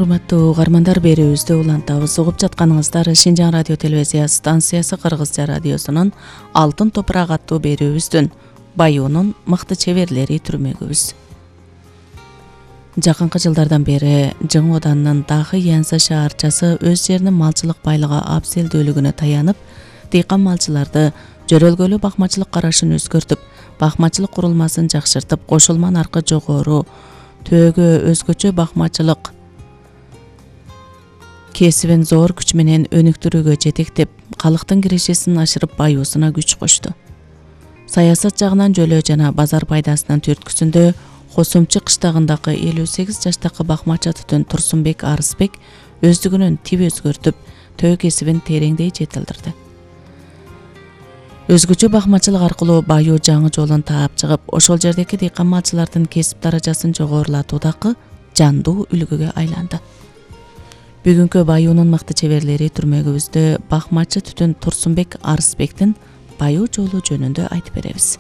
Урматтуу угармандар, берүүбүздү улантабыз. Угуп жатканыңыздар Шинжаң радио телевизия станциясы Кыргызча радиосунун Алтын топурак аттуу берүүбүздүн Баюунун мыкты чеберлери түрмөгүбүз. Жакынкы жылдардан бери Жың Оданынын Дахы Янса шаарчасы өз жеринин малчылык байлыгы абзелдүүлүгүнө таянып, дыйкан малчыларды жөрөлгөлүү бакмачылык карашын өзгөртүп, бакмачылык курулмасын жакшыртып, кошулма наркы жогору, төөгө өзгөчө бакмачылык кесибин зор күч менен өнүктүрүүгө жетектеп, калктын кирешесин ашырып, баюусуна күч кошту. Саясат жагынан жөлөө жана базар пайдасынын түрткүсүндө Косумчу кыштагындагы 58 жаштагы бакмачы түтүн Турсунбек Арысбек өздүгүнөн тип өзгөртүп, төө кесибин тереңдей жетилдирди. Өзгөчө бакмачылык аркылуу баюу жаңы жолун таап чыгып, ошол жердеги дыйкан малчылардын кесип даражасын жогорулатуудагы жандуу үлгүгө айланды. Бүгүнкү баюунун мыкты чеберлери түрмөгүбүздө бакмачы түтүн Турсунбек Арысбектин баюу жолу жөнүндө айтып беребиз.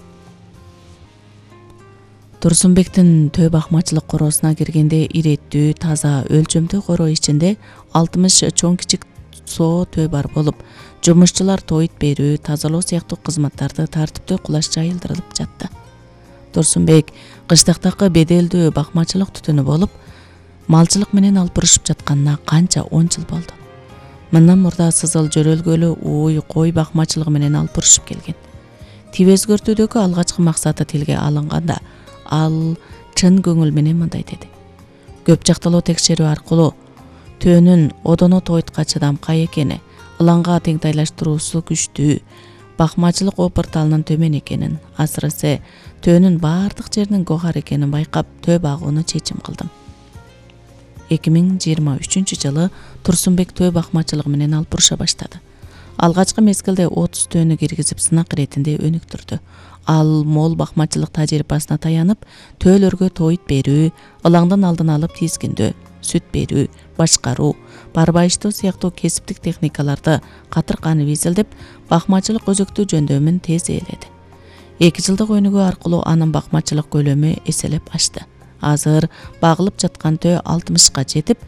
Турсунбектин төө бакмачылык короосуна киргенде иреттүү, таза, өлчөмдүү короо ичинде 60 чоң кичик соо төө бар болуп, жумушчулар тоyut берүү, тазалоо сыяктуу кызматтарды тартиптүү кулаш жайылдырылып жатты. Турсунбек кыштактагы беделдүү бакмачылык түтүнү болуп, малчылык менен алпырышып жатканына канча 10 жыл болду. Мындан мурда сызыл жөрөлгөлүү ууй кой бакмачылыгы менен алпырышып келген. Тип өзгөртүүдөгү алгачкы максаты тилге алынганда, ал чын көңүл менен мындай деди: көп жакталуу текшерүү аркылуу төөнүн одоно тоyutка чыдамкай экени, ылаңга теңтайлаштыруусу күчтүү, бакмачылык опырталынын төмөн экенин, асырысы төөнүн баардык жеринин гохар экенин байкап, төө багууну чечим кылдым. 2023 жылы Турсунбек төө бакмачылыгы менен алпырыша баштады. Алгачкы мезгилде 30 төөнү киргизип сынак иретинде өнүктүрдү. Ал мол бакмачылык тажрыйбасына таянып, төөлөргө тоyut берүү, ылаңдын алдын алып тизгиндөө, сүт берүү, башкаруу, барбайыштоо сыяктуу кесиптик техникаларды катырканып изилдеп, бакмачылык өзөктүү жөндөмүн тез ээледи. 2 жылдык өнүгүү аркылуу анын бакмачылык көлөмү эселеп ашты. Азыр багылып жаткан төө 60га жетип,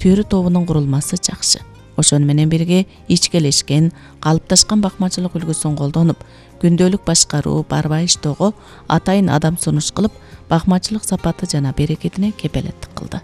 түйрү тобунун курулмасы жакшы. Ошону менен бирге ичкелешкен, калыпташкан бакмачылык үлгүсүн колдонуп, күндөлүк башкаруу, барбайыштоого атайын адам сунуш кылып, бакмачылык сапаты жана берекетине кепелеттик кылды.